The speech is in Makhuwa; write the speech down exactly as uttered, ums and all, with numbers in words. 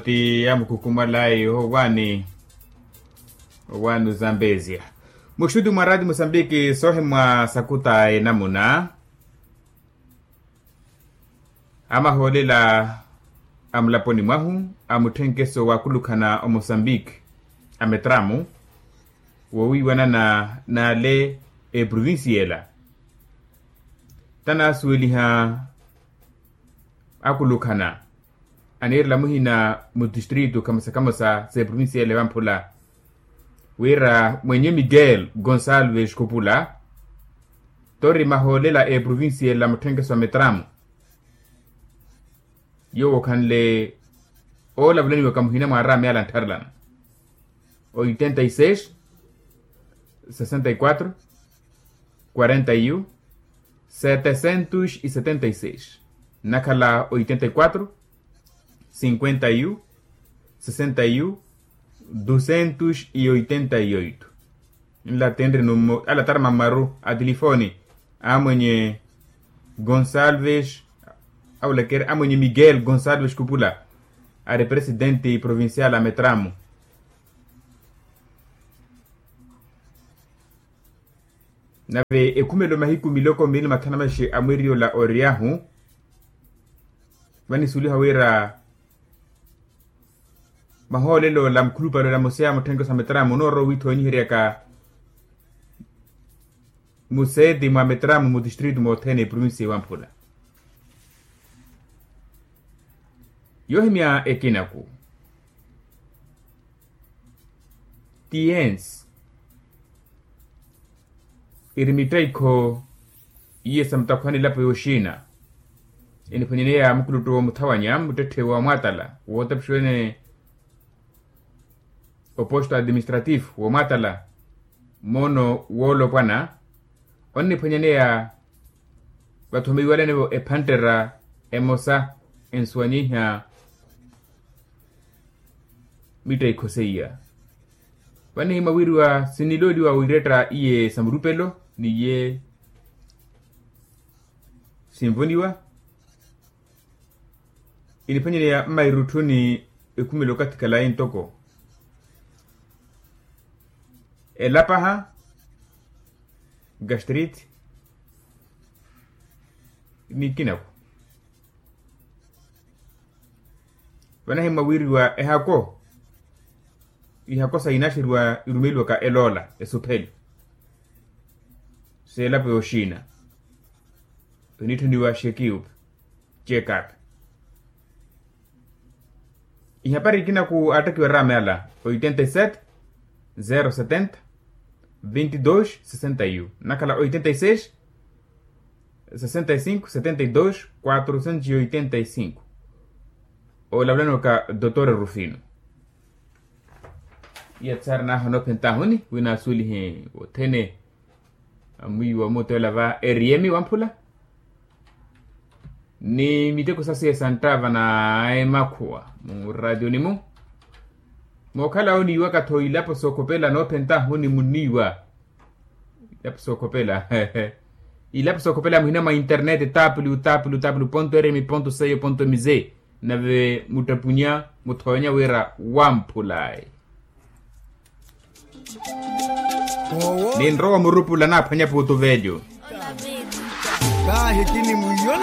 Ti amukhukhumwalayi owaani. Owaani ozambezia muxuti mwa rati musambiki soohimwa sakuta enamuna. Amahoolela a mulaponi mwahu a mutthenkeso waakulukhana omosambiki a metramu woowiiwanana n'ale eprovincia ela. Tanaasuweliha akulukhana aniirela muhina mu tistritu khamosa khamosa s'eprovincia ela ewamphula wira mwenye miguel gonsalves khupula tori mahoolela eprovincia ela mutthenkeso wa metramu. Yoowo okhanle oolavalaniwaka muhina mwa araami ala anttharelana oitenta y seis, sesenta y quatro, quarenta y un, setecentos y setenta y seis. Nnakhala oitenta y quatro, cinquenta y un, sesenta y un, ducentos y oitenta y oito. Nla tenre nummo ala tarama mmaru a tilifooni a mwenye gonsalves aulekere a mwenye miguel gonsalves kupula ari presidenti provincial a metramu. Nave ekhumelo mahiku miloko mili mathanu mashi a mweriyo la oriyahu vanisuliha wira mahoolelo la mukhulupale la mose a mutthenkeso a metramu onoorowa owiitha ooniheryaka museeti mwa metramu mu tistritu mothene eprovincia ewamphula. Yoohimya ekinaku tiensi iri mittaikho iye sa mutakhwani elapo yooxina eniphwanyaneya mukuluttu woomuthawanya muttetthe wa mwaatala wootapixiwene oposto administrativo woomaatala moono woolopwana onniphwanyaneya vathomiwalenevo ephanttera emosa ensuwanyiha mitteikho seiya. Vanihimwa wiriwa sinilooliwa wiiretta iye sa murupelo niye sinvoniwa iniphwanyaneya mmairutthuni ekhumelo okathi khalayi ntoko elapaha gastrite nikinaku. Vanahimwa wiriwa ehako ihako sa inaxeriwa irumeliwaka eloola esupheli seelapo yooxina oniitthuniwa xekiupe check up. Ihapari ikinaku aattakhiwa raame ala oitenta y sete zero setenta vinte y dos sesenta y un nnakhala oitenta y seis sesenta y cinco setenta y dos quatrocentos y oitenta y cinco. Olavulaniwaka dotor rufino. Iya tsaari naaha onoophentahuni wina asuwelihe wothene amwiiwa omuuteela va eriyemi wamphula ni miteko sasiye santtava na emakhuwa mu ratiyoni-mu mookhala oniiwaka-tho ilapo sookhopela noophentahuni muniiwa. Ilapo sookhopela ilapo sookhopela muhina mwa internet www rm co mz nave muttapunya muthoonya wira wamphulayi. Ninrowa murupula naaphwanya puutu velyo. Kahi kini mwiiyona.